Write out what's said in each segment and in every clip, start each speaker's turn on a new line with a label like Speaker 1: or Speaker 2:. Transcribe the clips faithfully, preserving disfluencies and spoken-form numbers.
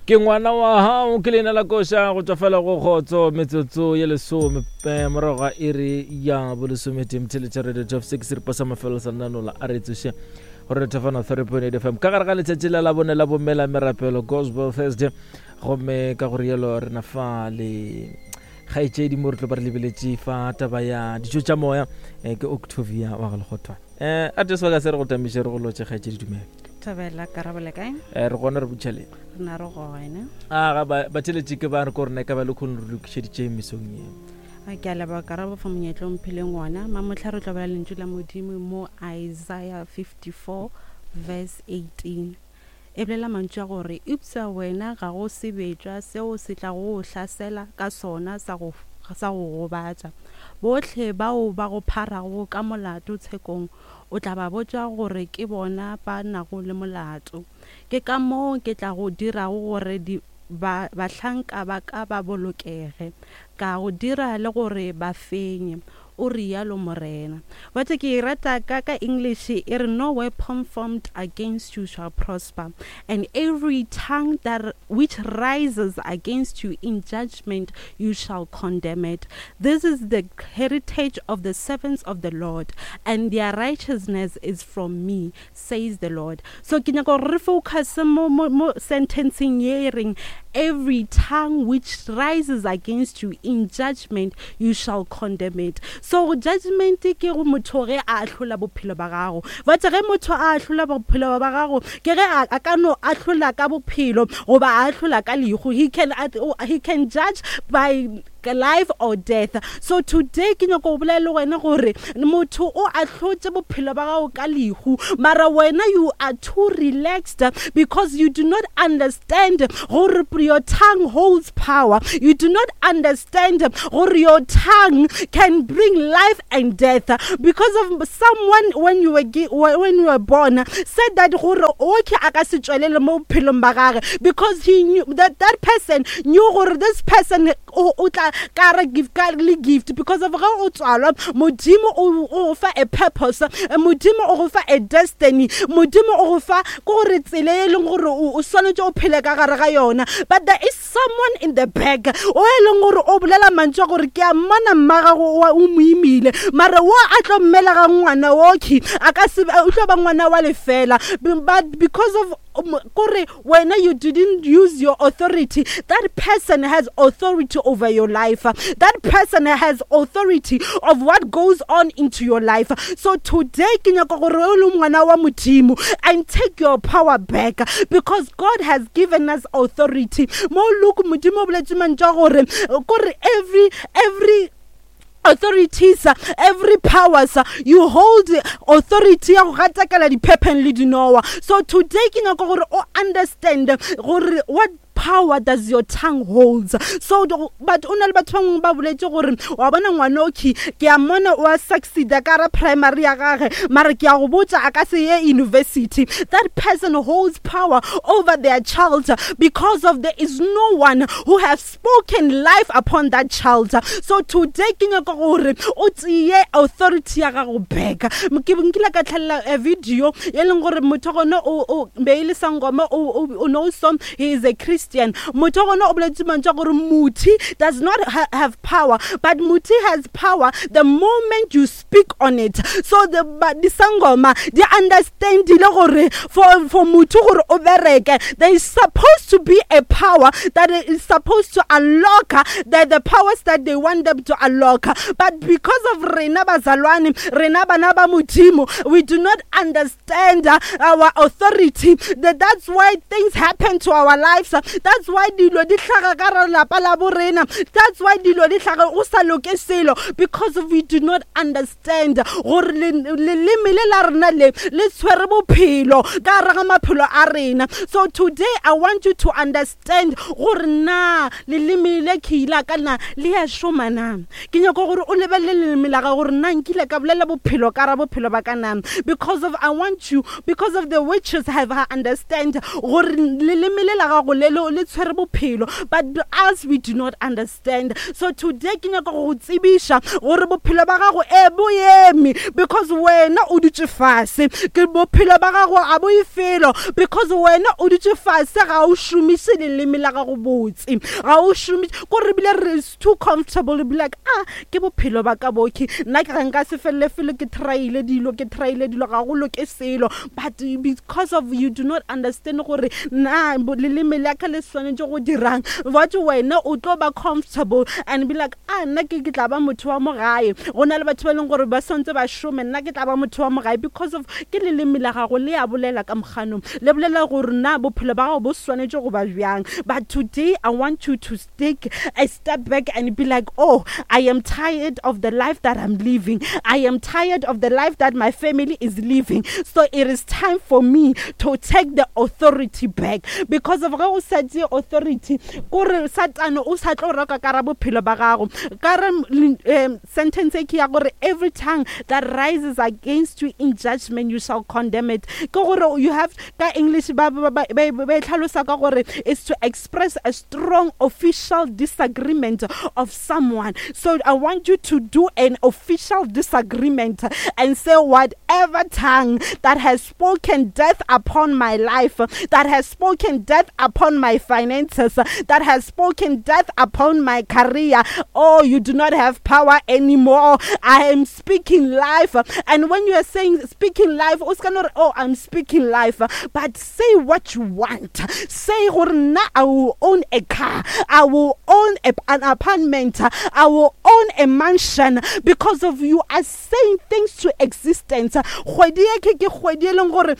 Speaker 1: Ke ngwana wa gago ke leina la koša go tšwa fela go kgotso metsotso ye lesome eh, morago ga iri ya bolesometee mtheletša radio top six seripa sa mafelo sa nanola a re tsoše gore re thefana three point eight fm ka gare ga letšatši la labone la bomela merapelo gospel thursday gomme ka go rialo re na fa le kgaetšedi mo re tlo ba re lebeletše fa taba ya dijo tša moya eh, ke octavia wa ga lekgothwane um a te sebaka se re go tamiše re go lotše kgaetšedi dumela
Speaker 2: Thabela karabo le kae?
Speaker 1: Eh, re gona re butšhaleng
Speaker 2: Re na re gona.
Speaker 1: a ga ba batheletše ke ba re ko rena ka ba le kgone re lokišeditše mesong ye
Speaker 2: A ke a leboga karabo fa monyetla o mphileng wona. Mamohla re tlo bala lentšu la Modimo mo Isaiah fifty-four verse eighteen. E bolela mantšu a gore, eupša wena ga go sebetšwa seo se tlago go hlasela ka sona sa go sa go gobatša. Bohle bao ba go pharago ka molato tshekong o tla ba botša gore ke bona ba nago le molato. Ke ka moo ke tla go dirago gore di ba bahlanka ba ka ba bolokege, ka go dira le gore ba fenye, o rialo Morena. But ke e rata ka ka English e re no weapon formed against you shall prosper, and every tongue that which rises against you in judgment you shall condemn it. This is the heritage of the servants of the Lord, and their righteousness is from me, says the Lord. So ke nyaka gore re focus mo mo mo sentenceng ye e reng every tongue which rises against you in judgment you shall condemn it. So judgment ke go motho ge a ahlola bophelo ba gago. But ge motho a ahlola bophelo ba gago ke ge a, a ka no ahlola ka bophelo goba a ahlola ka lehu. He can, he can judge by life or death. So today ke nyaka go bolela le wena gore motho o ahlotše bophelo ba gago ka lehu, mara wena you are too relaxed because you do not understand gore your tongue holds power. You do not understand gore your tongue can bring life and death. Because of someone when you were gi-, when you were born said that gore okay a ka se tšwelele mo bophelong ba gage, because he knew that that person knew gore this person o, o tla ka re give ka le gift, because of ge o tswalwa Modimo o, o fa a purpose, Modimo o go fa a destiny, Modimo o go fa ke gore tsela e leng gore o, o swanetše o phele ka gare ga yona. But there is someone in the back o e leng gore o bolela mantšu a gore ke a mmona mma gago o, o mo imile, mara wo a tlo mmelega ngwana oki a ka se, o tlo ba ngwana wa lefela. But because of um, kore wena you didn't use your authority, that person has authority over your life. That person has authority of what goes on into your life. So today ke nyaka gore o le ngwana wa Modimo and take your power back, because God has given us authority. Mo look Modimo o boletse mantšu a gore, kore every, every authorities, every powers, you hold authority ya go gatakela diphepheng le dinowa. So today ke nyaka gore o understand gore what power does your tongue holds. So do, but o na le batho ba bangwe ba boletse gore wa bona ngwana o ki ke a mmona o a succeeda ka ra primary ya gage, mara ke a go botša a ka se ye university. That person holds power over their child because of there is no one who has spoken life upon that child. So today ke nyaka gore o tseye authority ya gago back. Ke nkile ka tlhalela a video e leng gore motho gone o, o be e le sangoma, o, o, o know some, he is a Christian. Motho gona o boletse mantšu a gore muthi does not ha-, have power, but muthi has power the moment you speak on it. So the, but the sangoma they understand le gore for, for motho gore o bereke, there is supposed to be a power that is supposed to unlock the, the powers that they want them to unlock. But because of rena bazalwane, rena bana ba Modimo, we do not understand our authority. That, that's why things happen to our lives. That's why dilo di hlaga ka re lapa la bo rena. That's why dilo di hlaga o sa loke selo, because we do not understand gore le, leleme le la rena le, le tshwere bophelo ka gare ga maphelo a rena. So today I want you to understand gore na leleme le ke ile ka na le ya šoma na. Ke nyaka gore o lebelele leleme la gago gore na nkile ka bolela bophelo ka ra bophelo ba ka na, because of I want you, because of the witches have understand gore leleme le la gago le, le, le tshwere bophelo, but us, we do not understand. So today ke nyaka go go tsebiša gore bophelo ba gago e bo eme because wena o dutše fase. Ke bophelo ba gago a bo e felo because wena o dutše fase, ga o šomiše leleme la gago botse, ga o šomiše ko re bile re is too comfortable, be like, "Ah, ke bophelo ba ka boke, nna ke ga nka se felele felo, ke tryile dilo, ke tryile dilo, ga go loke selo." But because of you do not understand gore na leleme la ka le swanetše go dirang, what wena o tlo ba comfortable and be like, "Ah, nna ke ke tla ba motho wa mo gae. Go na le batho ba e leng gore ba swantse ba šome, nna ke tla ba motho wa mo gae." Because of ke leleme la gago le a bolela ka moganong, le bolela gore na bophelo ba gago bo swanetše go ba bjang. But today I want you to take a step back and be like, "Oh, I am tired of the life that I'm living. I am tired of the life that my family is living. So it is time for me to take the authority back." Because of ge o sa tšee authority, kore Satane o sa tlo roka ka ra bophelo ba gago. Ka re um sentence e ke ya gore, "Every tongue that rises against you in judgment, you shall condemn it." Ke gore you have, ka English ba ba ba ba e tlhalosa ka gore is to express a strong official disagreement of someone. So I want you to do an official disagreement and say, "Whatever tongue that has spoken death upon my life, that has spoken death upon my finances, that has spoken death upon my career, oh, you do not have power anymore. I am speaking life." And when you are saying speaking life, o ska no re, "Oh, I'm speaking life," but say what you want. Say gore nna I will own a car, I will own a, an apartment, I will own a mansion, because of you are saying things to existence. Kgwedi e ke ke kgwedi e leng gore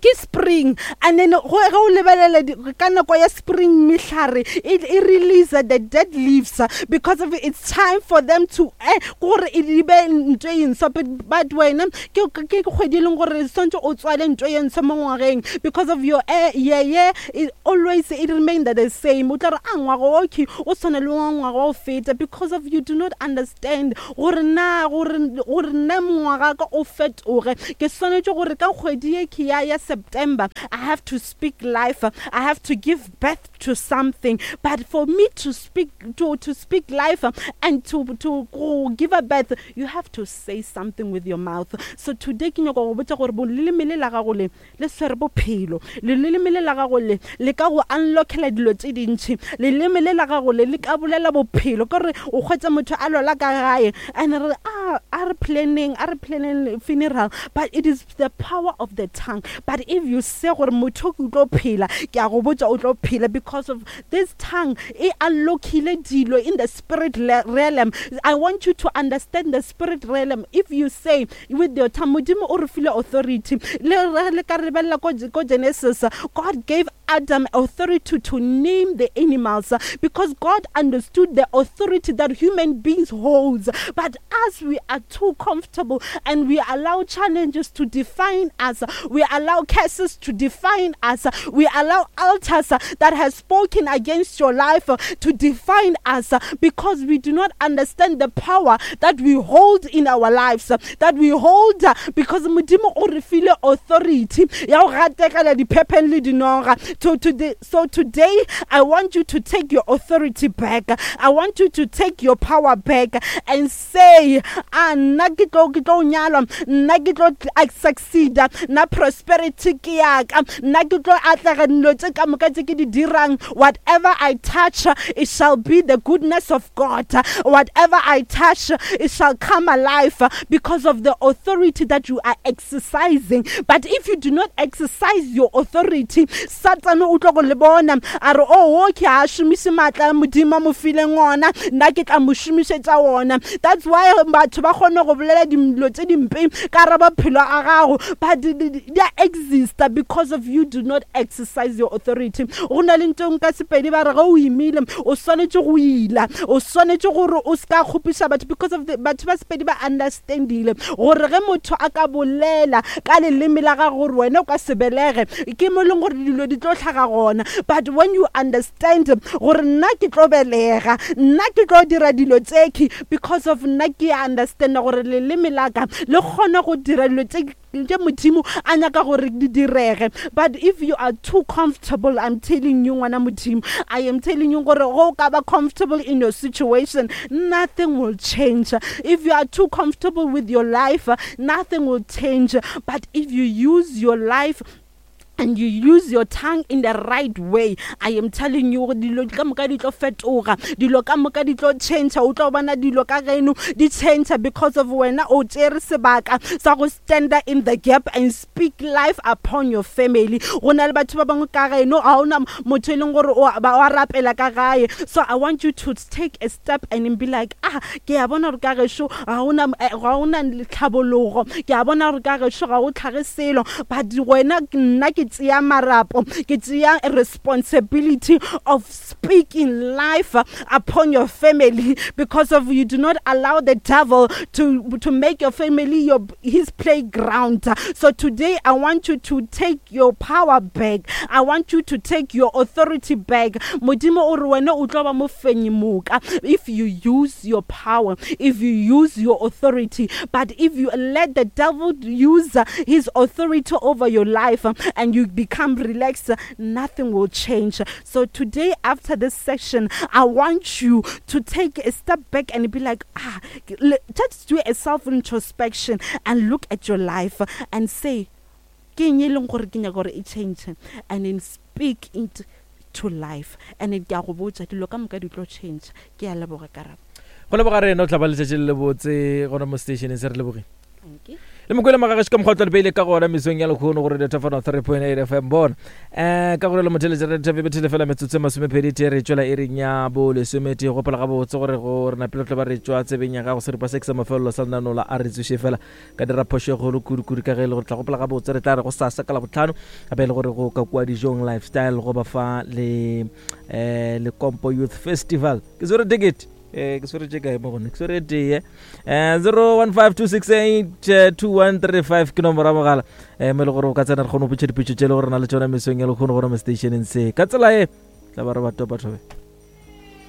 Speaker 2: ke spring, and then go ge o lebelela ka nako ya spring, mehlare e e release the dead leaves because of it's time for them to eh gore e di be ntho e ntshwa. but but wena ke ke kgwedi e leng gore swantse o tswale ntho e ntshwa mo ngwageng, because of your eh yeah yeah it always, it remain the same. O tla re a ngwaga o ke o tshwana le wa ngwaga wa o feta, because of you do not understand gore na gore gore nna ngwaga ka o fetoge, ke swanetše gore ka kgwedi e ke ya ya September, I have to speak life, I have to give birth to something. But for me to speak to to speak life and to to go give a birth, you have to say something with your mouth. So today ke nyaka go botša gore leleme le la gago le le swere bophelo. Leleme le la gago le le ka go unlockela dilo tše dintšhi. Leleme le la gago le le ka bolela bophelo. Ke gore o kgwetsa motho a lwala ka gae and re ah, a re planning a re planning funeral, but it is the power of the tongue. But if you say gore motho ke o tlo phela, ke a go botša o tlo phela, because of this tongue e unlockile dilo in the spirit realm. I want you to understand the spirit realm. If you say with your tongue, Modimo o re file authority. Le re le ka rebelela ko ko Genesis, God gave Adam authority to name the animals because God understood the authority that human beings holds. But as we are too comfortable and we allow challenges to define us, we allow curses to define us, we allow altars that has spoken against your life to define us, because we do not understand the power that we hold in our lives, that we hold, because Modimo o re file authority ya go gatekela diphepheng le dinoga. So today, so today I want you to take your authority back. I want you to take your power back and say, "Ah, nna ke tlo ke tlo nyalwa, nna ke tlo succeed, nna prosperity ke yaka, nna ke tlo atlega dilo tše ka moka tše ke di dirang. Whatever I touch, it shall be the goodness of God. Whatever I touch, it shall come alive," because of the authority that you are exercising. But if you do not exercise your authority, Satan o tlo go le bona a re, "Oh, okay, a šomiše maatla a Modimo a mo fileng ona, nna ke tla mo šomišetša ona." That's why batho ba kgone go bolela dilo tše dimpe ka ra maphelo a gago, but di a exista because of you do not exercise your authority. Go na le ntho ka Sepedi ba re ge o imile o swanetše go ila, o swanetše gore o se ka kgopiša batho, because of the batho ba Sepedi ba understandile gore ge motho a ka bolela ka leleme la gago gore wena o ka se belege, ke mo e leng gore dilo di tlo tlhaga gona. But when you understand gore nna ke tlo belega, nna ke tlo dira dilo tseki, because of nna ke understand gore leleme la ka le kgona go dira dilo tse tše Modimo a nyaka gore di direge. But if you are too comfortable, I'm telling you, ngwana Modimo, I am telling you gore go ka ba comfortable in your situation, nothing will change. If you are too comfortable with your life, nothing will change. But if you use your life and you use your tongue in the right way, I am telling you, dilo ka moka di tlo fetoga, dilo ka moka di tlo change. O tlo bona dilo ka geno di change because of wena o tšere sebaka sa go stand in the gap and speak life upon your family. Go na le batho ba bangwe ka geno ga ona motho e leng gore o ba rapela ka gae. So I want you to take a step and be like, ah, ke a bona gore ka gešo ga ona ga ona tlhabologo, ke a bona gore ka gešo ga o tlhage selo, but wena nna ke tšea marapo, ke tšea responsibility of speaking life upon your family, because of you do not allow the devil to to make your family your his playground. So today I want you to take your power back. I want you to take your authority back. Modimo o re wena o tlo ba mofenyi moka if you use your power, if you use your authority. But if you let the devil use his authority over your life and you become relaxed, nothing will change. So today, after this session, I want you to take a step back and be like, ah, just do a self-introspection and look at your life and say, ke eng e leng gore ke nyaka gore e change, and then speak it to life. And ke a go botša, dilo ka moka di tlo change. Ke a leboga, Karabo.
Speaker 1: Go leboga rena, o tla ba letšatši le lebotse gona mo stationeng se. Re lebogile.
Speaker 2: Thank you.
Speaker 1: Le mokwele magagešo ka mokgwa o tla beile ka gona mesong ya lekgono gore Thafana three point eight F M bona um ka gore le motheletša re thabe bethele fela metsotso e masomepedi tee re tšwela e reng ya bo lesometee. Gopola gabotse gore go re napele tlo ba re tšwa tsebeng ya gago seripa se ke sa mafelelo sa lenaneo la a re tsoše fela ka dira phošo e kgolo kudu-kudu ka ge e le gore tla gopola gabotse re tla re go sasa ka labotlhano gape e le gore go ka kua dijong lifestyle go ba fa le um Lekompo Youth Festival. Ke swere ticket, eh ke swere tše kae mo gone, ke swere tee eh zero one five two six eight two one three five ke nomoro ya mogala eh mo e le gore o ka tsena re kgone go botša dipotšo tše e le gore na le tšona mesong ya lekgono gore mo stationeng se ka tsela e tla ba re ba topa thobe.